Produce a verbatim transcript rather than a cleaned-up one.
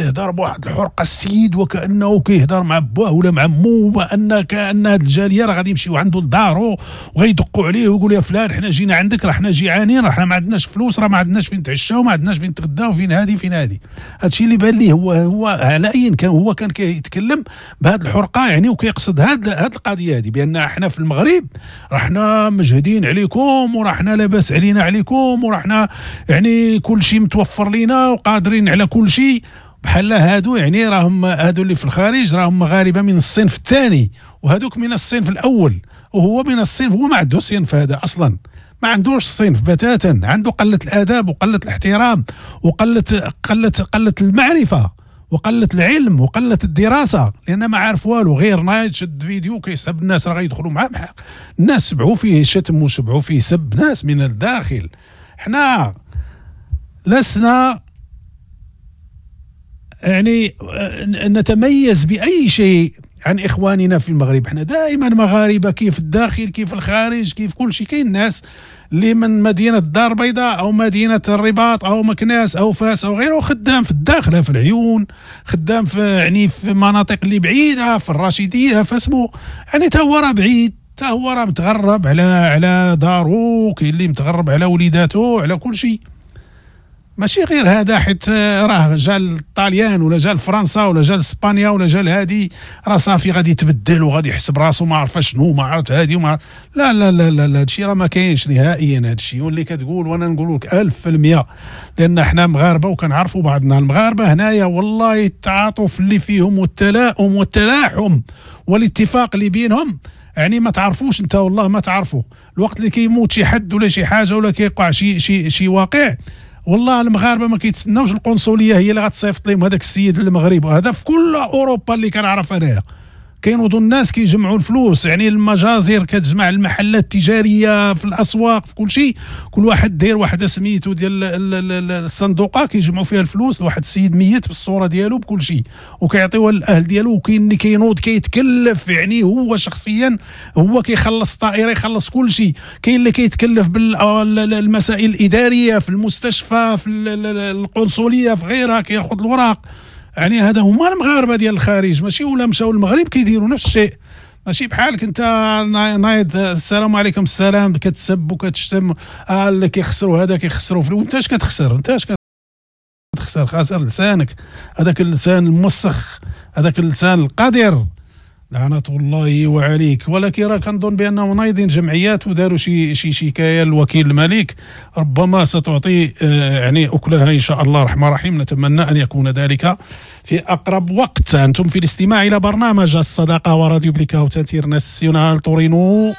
يهضر بواحد الحرقة السيد، وكانه كيهضر مع باه ولا مع مو، وان كان هذه الجالية راه غادي يمشيو عنده لدارو وغيدقوا عليه ويقولوا يا فلان حنا جينا عندك، راه حنا جيعانين، راه حنا ما عندناش فلوس، راه ما عندناش فين نتعشاو، ما عندناش فين نتغداو، فين هادي فين هادي. هادشي اللي بان ليه هو هو على اي كان هو كان كيتكلم بهذه الحرقة يعني، وكيقصد هاد هاد القضية هذه بان احنا في المغرب راه حنا مجهدين عليكم، وراه حنا لاباس علينا عليكم، وراه حنا يعني كل شيء متوفر لينا وقادرين على كل شيء. بحال هادو يعني راهم هادو اللي في الخارج راهم مغاربة من الصنف الثاني، وهادوك من الصنف الاول، وهو من الصنف، هو ما عنده صنف هذا اصلا، ما عندوش صنف بتاتا، عنده قلة الاداب وقلة الاحترام وقلة قلة قلة المعرفة وقلة العلم وقلة الدراسة، لان ما عارف والو، غير نايض شد فيديو كيسب الناس راه غيدخلوا معاه. الناس سبعوا فيه شتم وشبعوا فيه سب، ناس من الداخل. حنا لسنا يعني نتميز بأي شيء عن إخواننا في المغرب، احنا دائما مغاربة، كيف الداخل كيف الخارج كيف كل شيء. كاين ناس اللي من مدينة الدار البيضاء أو مدينة الرباط أو مكناس أو فاس أو غيره، خدام في الداخلة في العيون، خدام في يعني في مناطق اللي بعيدة في الرشيدية، فاسمو يعني تا هو راه بعيد، تا هو راه متغرب على على دارو، كاين اللي متغرب على وليداتو على كل شيء. ماشي غير هذا حيت راه جا الطاليان ولا جا لفرنسا ولا جا لاسبانيا ولا جا لهادي راه صافي غادي يتبدل وغادي يحسب راسو ما عرف شنو ما عرفت هادي وما عرف. لا لا لا لا لا، هادشي راه ما كاينش نهائيا هادشي. واللي كتقول وانا نقول لك ألف في المية، لان حنا مغاربة وكنعرفوا بعضنا. المغاربة هنايا والله التعاطف اللي فيهم والتلاؤم والتلاحم والاتفاق اللي بينهم يعني ما تعرفوش انت، والله ما تعرفوا. الوقت اللي كيموت شي حد ولا شي حاجة ولا كيوقع شي شي شي واقع، والله المغاربة ما كيتسناوش القنصليه هي اللي غتصيفط لهم هذاك السيد للمغرب. وهذا في كل اوروبا اللي كنعرف انايا، كينوضوا الناس كيجمعوا الفلوس، يعني المجازر كتجمع المحلات التجارية في الاسواق في كل شيء، كل واحد داير واحد سميتو ديال الصندوقه كيجمعوا فيها الفلوس لواحد السيد ميت بالصورة ديالو بكل شيء وكيعطيوها للاهل ديالو. وكاين اللي كينوض كيتكلف يعني هو شخصيا هو كيخلص الطائرة يخلص كل شيء. كاين اللي كيتكلف بالمسائل الادارية في المستشفى في القنصليه في غيرها كياخذ الوراق. يعني هذا هما المغاربة ديال الخارج، ماشي ولا مشاو للمغرب كيديروا نفس الشيء. ماشي بحالك انت نايض السلام عليكم السلام كتسب وكتشتم، آه اللي كيخسروا هذا كيخسروا فلوس. انت اش كتخسر؟ انت اش كتخسر؟ خاسر لسانك، هذاك اللسان الموسخ، هذاك اللسان القادر، لعنة الله وعليك. ولكن راه كنظن بانهم نايضين جمعيات وداروا شي شي شكاية للوكيل الملك، ربما ستعطي يعني اكلها ان شاء الله الرحمن الرحيم. نتمنى ان يكون ذلك في اقرب وقت. انتم في الاستماع الى برنامج الصداقة وراديو بليكا وتاتير ناسيونال تورينو.